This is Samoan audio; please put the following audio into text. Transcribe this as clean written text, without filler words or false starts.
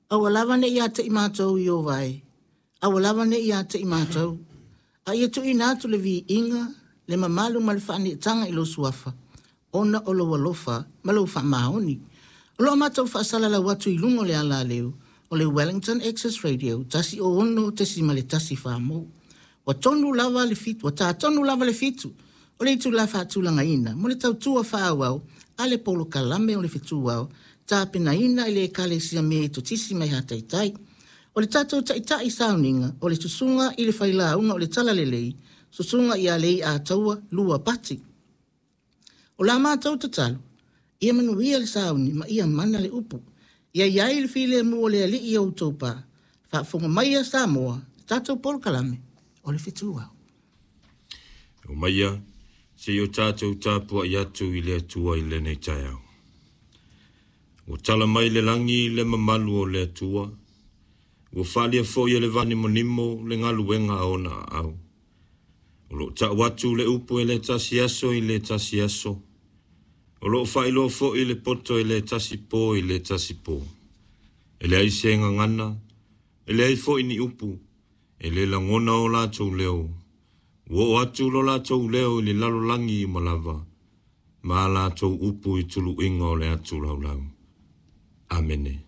Aua lava ne i ia te i matou Ieova e, aua lava ne i ia te i matou, a ia tuuina atu le viiga, le mamalu ma le faaneetaga i lou Suafa, ona o lou alofa ma lou faamaoni. O lo o matou faasalalau atu i luga o le alaleu o le Wellington Access Radio 106.1 Famo. Ua tonu lava le fitu, ua tā tonu lava le fitu o le itulā faatulagaina mo le tautua faaauau a le polokalame o le Fetuao tapenaina e le Ekalesia Metotisi mai Hataitai. O le tatou taitai sauniga o le Susuga i le Failauga o le Talalelei, Susuga ia Leiataua Lua Pati. O la matou tatalo, ia manuia le sauni ma ia mana le upu. Ia i ai le filemu o le Alii i outou pa. Faafofoga maia Samoa, le tatou polokalame o le Fetuao. Omaia, se i o tatou tapuai atu i le Atua i lenei taeao. Ua tala mai le lagi le mamalu o le Atua, ua faaalia foi e le vaanimonimo le galuega a ona aao. O lo o tau atu le upu e le tasi aso i le tasi aso, o lo o faailoa foi le poto e le tasi po i le tasi po. E leai se gagana, e leai foi ni upu, e le lagona o latou leo. Ua oo atu lo latou leo i le lalolagi uma lava, ma a latou upu i tuluiga o le atu laulau. Amene.